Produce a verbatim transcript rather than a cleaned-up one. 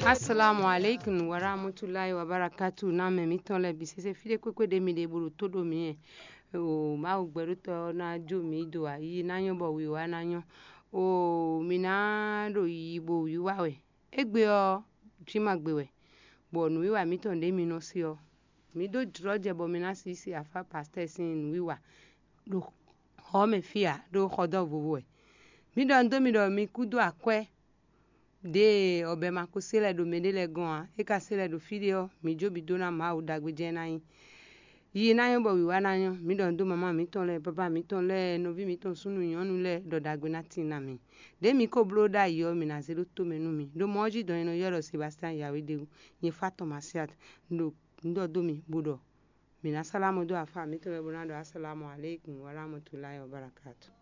Assalamu alaikum warahmatullahi wabarakatuh. Na mɛ mǐtɔn lɛ́ɛ bǐ sésé fí ɖé kpékpé ɖé mi ɖe bó ɖo tó ɖo mǐ ɛ. O Mawu gbɛɖótɔ́ ɔ́ ná jó mǐ do ayi ná nyɔ́ bɔ wiwa ná nyɔ́. O mǐ ná ɖo yiyi bo wiwa wɛ. Égbé ɔ́, jǐ ma gbe wɛ, bɔ nǔwiwa mǐtɔn ɖě mi nɔ se ɔ́, mǐ dó jlɔ́ jɛ bɔ mi ná sixú se afá pastɛ́ sín nǔwiwa ɖo xɔ ɔ́ mɛ fí ǎ, ɖó xɔdɔ́ vovo wɛ. Mǐ ɖɔ un dó mi ɖɔ mi kú dó akwɛ́ ɖě ɔbɛ ma ko se lɛ́ɛ ɖo mɛɖé lɛ́ɛ gɔ́n ǎ; é ka se lɛ́ɛ ɖo fí ɖé ɔ́, mǐ jó bǐ dó ná Mawu ɖagbe jɛ́n ná nyí. Yiyi ná nyɔ́ bɔ wǐwá ná nyɔ́. Mǐ ɖɔ nǔ dó mamá mǐtɔn lɛ́ɛ, baba mǐtɔn lɛ́ɛ, nɔví mǐtɔn súnnu nyɔ̌nu lɛ́ɛ ɖɔ ɖagbe ná tíin ná mi. Ɖěe mi ko bló ɖ'ayǐ ɔ́, mǐ ná zé ɖó tomɛ nú mi. Ɖo mɔ ɔ́ jí dɔn e nɔ ylɔ́ ɖɔ Sebastiyán Yawédéwu, nyɛ Fáton Masiát, ɖo nǔ ɖɔ dó mi, bó ɖɔ mǐ ná sálámɔ dó afá mǐtɔn lɛ́ɛ bó ná ɖɔ asalámu alékún wa rahmatulayi wa barakatu.